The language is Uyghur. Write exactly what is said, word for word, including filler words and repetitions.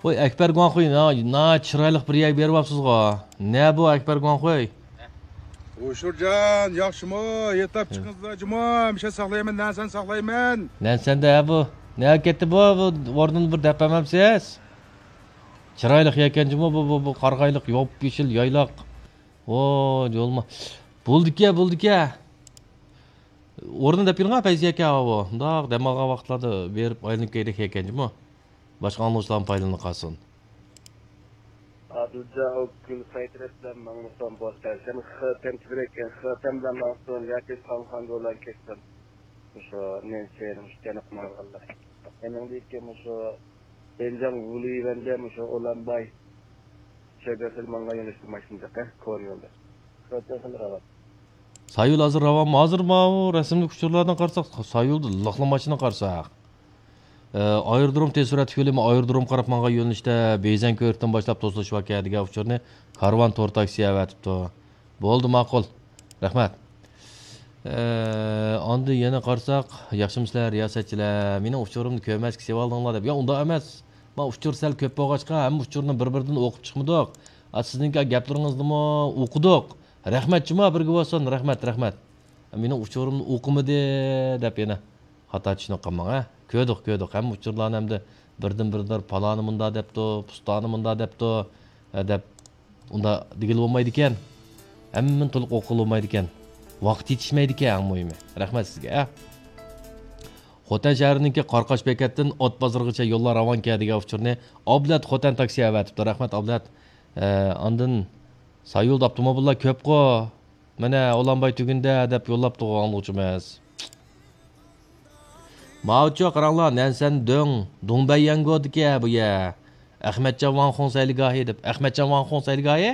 ۋاي، ئەكبەر گۇاڭخۇي، نا، نا چىرايلىق بىر يەرگە بېرىۋاپسىزغۇ. نە بۇ، ئەكبەر گۇاڭخۇي؟ ھوشۇرجان، ياخشىمۇ؟ يېتىپ چىقىڭىزلا جۇمۇ، ھەمىشە ساقلايمەن، نەنسەن ساقلايمەن. نەنسەندە ھە بۇ؟ نەگە كەتتى بۇ؟ بۇ ئورنىنى بىر دەپ بەرمەمسىز؟ چىرايلىق يەكەن جۇمۇ بۇ، بۇ، بۇ قارىغايلىق، يوپيېشىل يايلاق. ۋو، جولما. بولدىكە، بولدىكە. ئورنىنى دەپ بېرىڭە، پەيزى ئاكا، ئاۋۇ. مۇنداق دەم ئالغان ۋاقىتلاردا بېرىپ ئايلىنىپ كەيدىك ئىكەن جۇمۇ. باشقا ئاڭلىغۇچىلارمۇ پايدىلىنىپ قالسۇن. ئادىلجان، ئۇ گۈل سايترەپ بىلەن ماڭمىسام بولسا، سەن خېتەم تىزرەك، خېتەم بىلەن ماڭسۇن ياكى ساڭخەنگو بىلەن كەتسۇن. مۇشۇ نېنسى، مۇشۇ جەنۇب ماڭغانلار. ئېنىڭدىكى مۇشۇ بېنجاڭ ۋۇلىۋەندە مۇشۇ ئۇلانباي شۆبەسىدە ماڭغان يۆنىلىشتە ماشىنا جىق، ھە؟ كونا يولدا. خېتەم خېلى راۋان. سايۇل ھازىر راۋانمۇ؟ ھازىر ماۋۇ رەسىملىك ئۇچۇرلاردىن قارىساق، سايۇلدا لىقلا ماشىنا قارىساق. ئە، ئايرودروم تېز سۈرئەتلىك يولى، ئايرودرومغا قاراپ ماڭغان يۆنىلىشتە بېيزەن كۆۋرۈكتىن باشلاپ توسۇلۇش بار ئىكەن دېگەن ئۇچۇرنى كارۋان تور تاكسى ئەۋەتىپتۇ. بولدى، ماقۇل. رەھمەت. ئە، ئاندىن يەنە قارىساق، ياخشىمۇسىلەر، رىياسەتچىلەر؟ مېنىڭ ئۇچۇرۇمنى كۆرمەسكە سېلىۋالدىڭلار دەپ. يا، ئۇنداق ئەمەس. ما ئۇچۇر سەل كۆپ بولغاچقا، ھەممە ئۇچۇرنى بىر-بىردىن ئوقۇپ چىقمىدۇق. ئا، سىزنىڭكى گەپلىرىڭىزنىمۇ ئوقۇدۇق. رەھمەت جۇما، بىرگە بولسۇن. رەھمەت، رەھمەت. مېنىڭ ئۇچۇرۇمنى ئوقۇمىدى دەپ يەنە خاتا چۈشىنىپ قالماڭ، ھە. كۆردۇق، كۆردۇق. ھەممە ئۇچۇرلارنى ئەمدى بىردىن بىردىن پالانى مۇنداق دەپتۇ، پۇستانى مۇنداق دەپتۇ، ھە، دەپ ئۇنداق دېگىلى بولمايدىكەن. ھەممىنى تولۇق ئوقۇغىلى بولمايدىكەن. ۋاقىت يېتىشمەيدىكەن، ئەڭ مۇھىمى. رەھمەت سىزگە، ھە. خوتەن شەھىرىنىڭكى قارقاش بېكەتتىن ئات بازىرىغىچە يوللار راۋانكەن دېگەن ئۇچۇرنى ئابلەت خوتەن تاكسى ئەۋەتىپتۇ. رەھمەت، ئابلەت. ھە، ئاندىن سايۇلدا ئاپتوموبىللار كۆپقۇ. مانا، ئۇلانباي تۈگۈندە دەپ يوللاپتۇغۇ ئاڭلىغۇچىمىز. ماۋۇچۇ قاراڭلار، نەنسەن دۆڭ، دۇڭبەييەنگودىكى بۇ يەر. ئەخمەتجان ۋاڭخۇڭ سەيلىگاھى دەپ. ئەخمەتجان ۋاڭخۇڭ سەيلىگاھى؟